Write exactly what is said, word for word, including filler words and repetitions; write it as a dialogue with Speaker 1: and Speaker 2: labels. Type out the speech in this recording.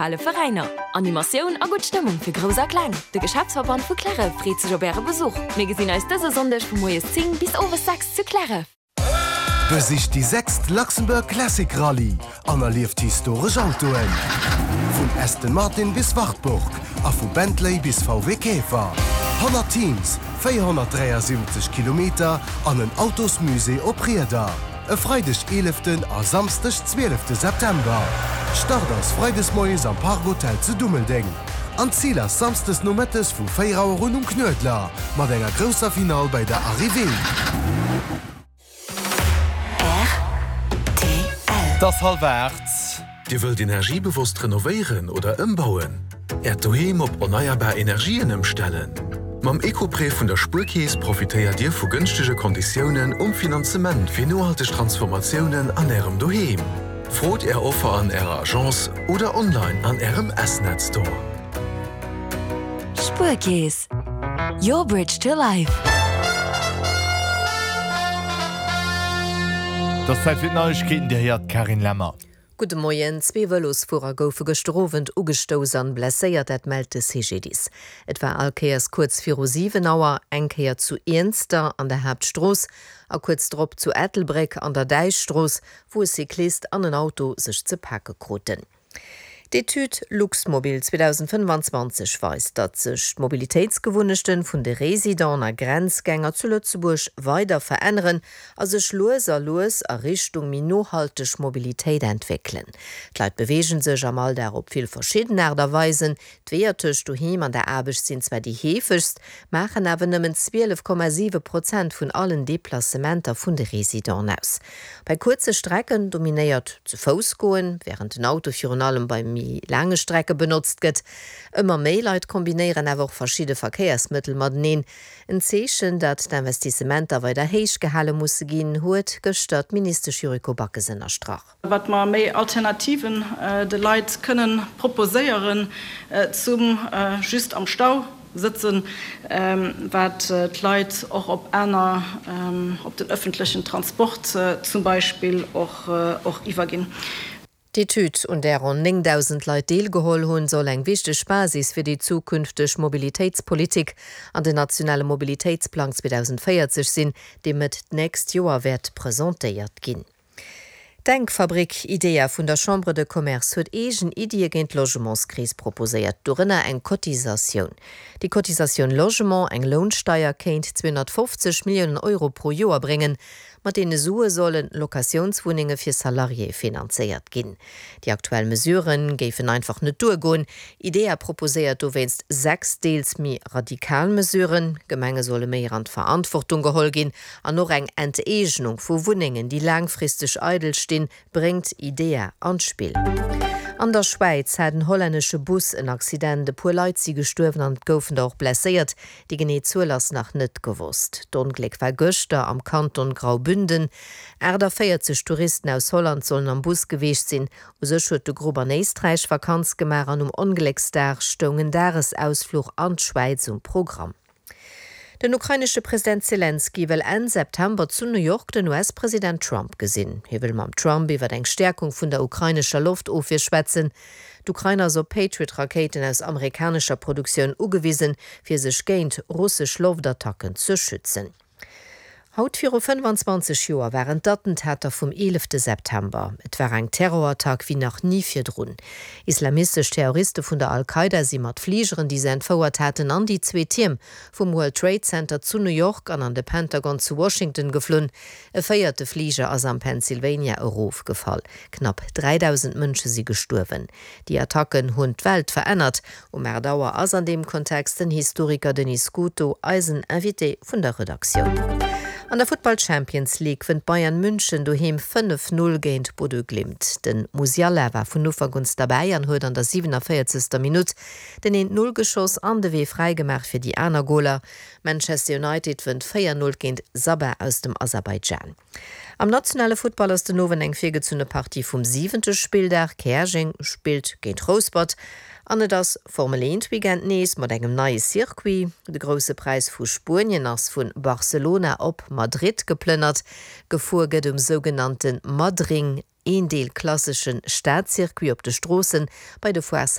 Speaker 1: Ale Veräiner. Animatioun a gutt Stëmmung fir Grouss a Kleng. De Geschäftsverband vu Cliärref freet sech op äre Besuch. Mir gesinn eis dëse Sonndeg vu moies zéng bis owes sechs zu Cliärref.
Speaker 2: Besicht déi sechst Luxembourg Classic Rallye an erlieft historesch Autoen. Vun Aston Martin bis Wartburg a vu Bentley bis V W Käfer. honnert Teams, véierhonnertdräiasiwwenzeg Kilometer an en Autosmusée op Rieder. E Freideg eeleften a Samsdeg zwielefte September. Start ass freides moies am Park Hotel zu Dummeldeng. An Zil ass samsdes nomëttes vu véier Auer un um Knuedler, mat enger grousser Finale bei der Arrivée.
Speaker 1: R T L.
Speaker 3: Et ass hallwer aacht.
Speaker 4: Dir wëllt energiebewosst renovéieren oder ëmbauen? Äert Doheem op erneierbar Energien ëmstellen? Mam Ecoprêt vun der Spuerkeess profitéiert Dir vu gënschtege Konditiounen um Finanzement fir nohalteg Transformatiounen an Ärem Doheem. Frot Är Offer an Ärer Agence oder online an Ärem S-Net Store.
Speaker 1: Spuerkeess. Your bridge to life.
Speaker 3: Et ass Zäit fir d'Neiegkeeten, Dir héiert d'Carine Lemmer.
Speaker 5: Gudde Moien. Zwee Vëlosfuerer goufe gëschter Owend ugestouss an blesséiert, dat mellt de C G D I S. Et war all Kéiers kuerz viru siwen Auer, eng Kéier zu Iernster an der Haaptstrooss a kuerz drop zu Ettelbréck an der Däichstrooss, wou e Cyclist an en Auto sech ze pake kruten. D'Etüd Luxmobil zweedausendfënnfanzwanzeg weist, datt sech d'Mobilitéitsgewunnechte vun de Residenten a Grenzgänger zu Lëtzebuerg weider veränneren a sech lues a lues a Richtung méi nohalteg Mobilitéit entwéckelen. D'Leit beweege sech am Alldag op vill verschidden Aart a Weisen. D'Weeër tëscht doheem an der Aarbecht sinn zwar déi heefegst, maachen awer nëmmen zwielef Komma siwe Prozent vun allen Deplacementer vun de Residenten aus. Bei kuerze Strecken dominéiert zu Fouss goen, wärend den Auto virun allem bei méi laange Strecke benotzt gëtt. Ëmmer méi Leit kombinéieren awer och verschidde Verkéiersmëttel mateneen. En Zeechen, datt d'Investissementer weider héich gehale musse ginn, huet gëschter d'Ministesch Yuriko Backes ënnerstrach.
Speaker 6: Wat mer méi Alternativen de Leit kënnen proposéieren zum just am Stau sëtzen, wat d'Leit och op aner, op den ëffentlechen Transport zum Beispill och och iwwerginn.
Speaker 5: D'Etüd, un där ronn néngdausend Leit deelgeholl hunn, soll eng wichteg Basis fir déi zukünfteg Mobilitéitspolitik an den nationale Mobilitéitsplang zweedausendvéierzeg sinn, dee Mëtt d'nächst Joer wäert presentéiert ginn. D'Denkfabrik IDEA vun der Chambre de Commerce huet eegen Iddie géint d'Logementskris proposéiert, dorënner eng Cotisatioun. Déi Cotisatioun Logement, eng Lounsteier, kéint zweehonnertfofzeg Milliounen Euro pro Joer bréngen. Mat deene Sue solle Locatiounswunnenge fir Salariéë finanzéiert ginn. Déi aktuell Mesurë géifen einfach net duergoen. IDEA proposéiert dowéinst sechs deels méi radikal Mesuren, Gemenge solle méi an d'Verantwortung geholl ginn an och eng Enteegnung vu Wunnengen, déi laangfristeg eidel stinn, bréngt IDEA an d'Spill. An der Schwäiz hat en hollännesche Bus en Accident, e puer Leit si gestuerwen an et goufen der och blesséiert. Déi genee Zuel ass nach net gewosst. D'Ongléck war gëschter am Kanton Graubünden. achtundvéierzeg Touristen aus Holland sollen am Bus gewiescht sinn. U sech huet de Grupp an Éisträich Vakanz gemaach an um Onglécksdag stoung en Dagesausfluch an d'Schwäiz um Programm. Den ukrainesche President Selenskyj wëll Enn September zu New York den U S-President Trump gesinn. Hie wëll mam Trump iwwer eng Stäerkung vun der ukrainescher Loftofwier schwätzen. D'Ukrain ass op Patriot-Rakéiten aus amerikanescher Produktioun ugewisen, fir sech géint russesch Loftattacken ze schützen. Haut viru fënnefanzwanzeg Joer waren d'Attentater vum eelefte September. Et war eng Terrorattack wéi nach ni virdrun. Islamistesch Terroriste vun der Al-Qaida si mat Fligeren, déi se entfouert haten, an déi zwee Tierm vum World Trade Center zu New York an an de Pentagon zu Washington geflunn. E véierte Fliger ass am Pennsylvania erofgefall. Knapp dräidausend Mënsche si gestuerwen. Déi Attacken hunn d'Welt verännert. Um aacht Auer ass an deem Kontext den Historiker Denis Scuto eisen Invité vun der Redaktioun. An der Futtball Champions League wënnt Bayern München doheem fënnef Null géint Bodø Glimt. Den Musiala war vun Ufank un derbäi an huet an der siewenundvéierzegster Minutt den eent Null geschoss an de Wee fräigemaach fir déi aner Goler. Manchester United wënnt véier Null géint Sabah aus dem Aserbaidschan. Am nationale Futtball ass den Owend eng virgezunne Partie vum siwente Spilldag. Käerjeng spillt géint Rouspert. An et ass Formel eent Weekend nees mat engem neie Circuit. De Grousse Präis vu Spuenien ass vu Barcelona op Madrid geplënnert. Gefuer gëtt um sougenannte Madring. Een Deel klassesche Stadcircuit op de Stroossen, bei de Foires